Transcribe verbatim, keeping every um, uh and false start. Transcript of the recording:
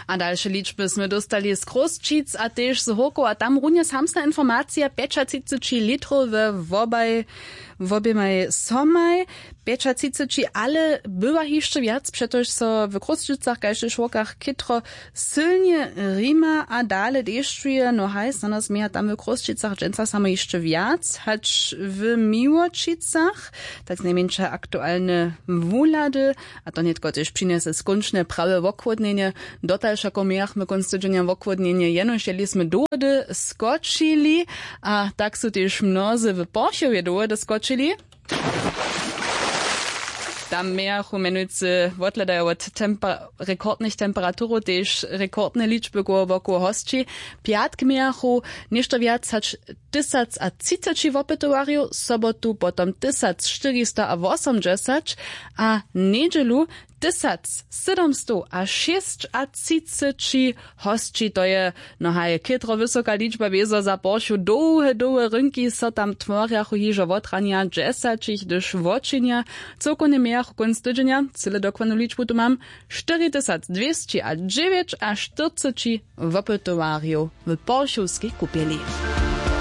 A dalše ličby smy dóstali z Chrósćic a tež z Hórkow, a tam runje samsna informacija: pjećatřiceći litrow we wobaj, woběmaj somaj. Pjećatřiceći ale bywa hišće wjac, přetož so w Chrósćicach kaž tež w Hórkach chětro sylnje rima a dale dešćuje. No haj, snano změja tam w Chrósćicach dźensa samo hišće wjac hač w Miłoćicach. Tak znajmjeńša aktualne wuhlady, a to nětko tež přinjese skónčne prawe wochłódnjenje. Dotal wšako mějachmy kónc tydźenja wochłódnjenje, jenož jeli smy dołhody skočili. A tak su tež mnozy w Porchowje dołhody skočili. Tam mějachu mjenujcy, wothledajo wot temper-, rekordnych temperaturow, tež rekordne ličby koło wokoło hosći. Pjatk mějachu něšto wjac hač tysacatřiceći wopytowarjow, sobotu potom tysacštyristoawosomdźesać a njedźelu tysacsydomstowašěsćatřiceći hosći. To je, no haj, chětro wysoka ličba, wězo za poršu. Dołhe dołhe rynki so tam tworjachu hižo wot ranja dźesaćich, hdyž wočinja. Cyłkownje mějachu kónc tydźenja, cyle dokładnu ličbu tu mam, štyri tysac dwěsći a dźewjećaštyrceći wopytowarjow w poršowskej kupjeli.